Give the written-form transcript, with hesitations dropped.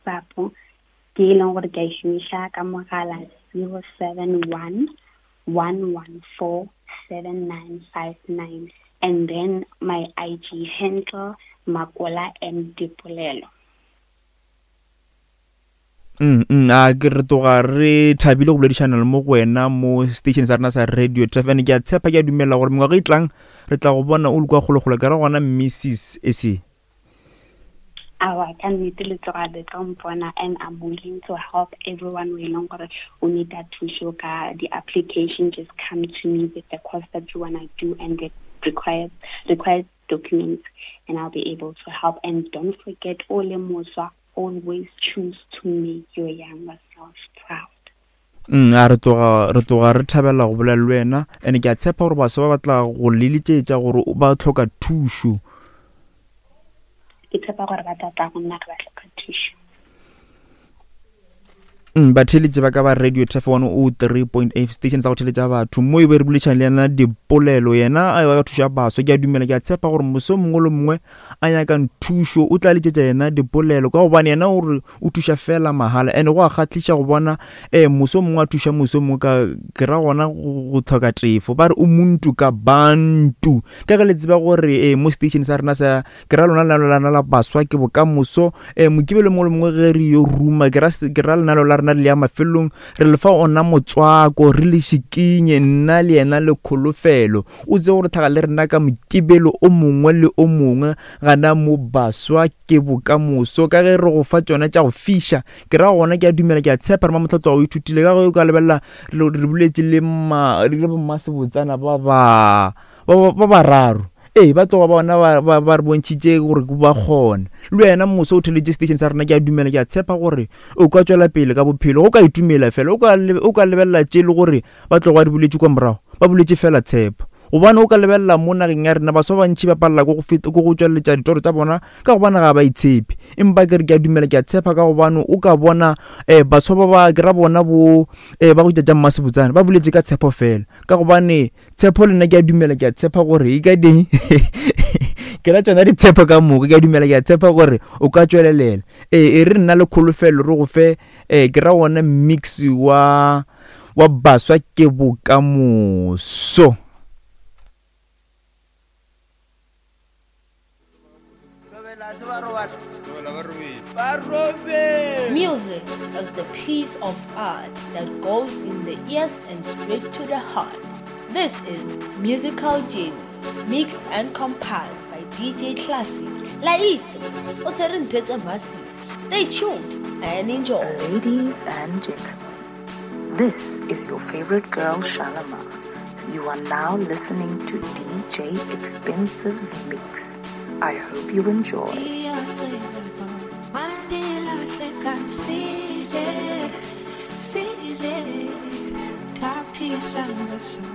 WhatsApp ke e leng gore ke a e šomiša ka mogala 071 114 7959 and then my IG handle Makola M Dipolelo. Mm, mm, a ke re tloga re thabile go boledišana le mo go wena mo station sa rena sa radio trafan ke a tshepa ke a dumela gore mengwaga e tlang re tla go bona o le kwa kgolokgolo ke ra gona mrs ese Awa, ka nnete le tloga le tlo mpona and I'm willing to help everyone o e leng gore o need a thuso ka di-application. Just come to me with the course that you wanna do and the required documents and I'll be able to help. And don't forget, o le moswa, always choose to make your younger self proud. A re tloga re tloga re thabela go bolela le wena and ke a tshepa gore baswa ba batla go leletšetša gore ba tlhoka thušo. Ke tshepa gore ba tla tla go nna ge ba hloka thušo. Batheeletši ba ka ba Radio Turf 103.8 station sa go theeletša batho mo e be re boledišana le yena dipolelo yena a ba thuša baswa. Ke a dumela ke a tshepa gore moso mongwe le mongwe a nyakang thušo o tla letšetša yena dipolelo ka gobane yena o re o thuša fela mahala and go a kgahliša go bona um moso mongwe a thuša moso mongwe ka ke ra gona go tlhoka tefo ba re o muntu ka bantu ka ge le tseba gore um mo station sa rena sa ke ra lona lenalo la rena la baswa ke bokamoso um mokibelo mongwe le mongwe ge re yo ruma ke ra lenalo la rena le ya mafelong re le fa ona motswako re le šikinye nna le yena le kholofelo o tsebe gore tlhaga le rena ka mokibelo o mongwe le o mongwe gana mo baswa ke bokamoso ka ge re go fa tšona tša go fiša ke ra gona ke a dumela ke a tshepa re mamotlhatlo o ithutile ka ge o ka lebelela re boletše le mmasebotsana ba ba ba bararo ee ba tloga bona ba re bontšhitše gore ba kgona le wena moso o theletše station sa rena ke a dumela ke a tshepa gore o ka tšwela pele ka bophelo o ka itumela fela o ka lebelela tše le gore ba tloga ba di boletše kwa morago ba boletše fela tshepo gobane o ka lebelela mo nageng ya rena baswa ba bantši ba palela ke go tšweletša ditoro tša bona ka gobane ga ba itshepe empa ke re ke a dumela ke a tshepa ka gobane o ka bona um baswa ba ba ke ra bona bo um ba go tša mmasebotsane ba boletše ka tshepo fela ka gobane tshepo le nna ke a dumela ke a tshepa gore e ka ding ke ra tsona ditshepo ka moka ke a dumela ke a tshepa gore o ka tswelelela ee e re nna le kholofelo re go fe um ke ra ona mix wa wa baswa ke bokamoso. Music is the piece of art that goes in the ears and straight to the heart. This is Musical Journey, mixed and compiled by DJ Classic. La itse, o tshwere ntho tse massive. Stay tuned and enjoy. Ladies and gentlemen, this is your favorite girl Shalimar. You are now listening to DJ Expensive's Mix. I hope you enjoy.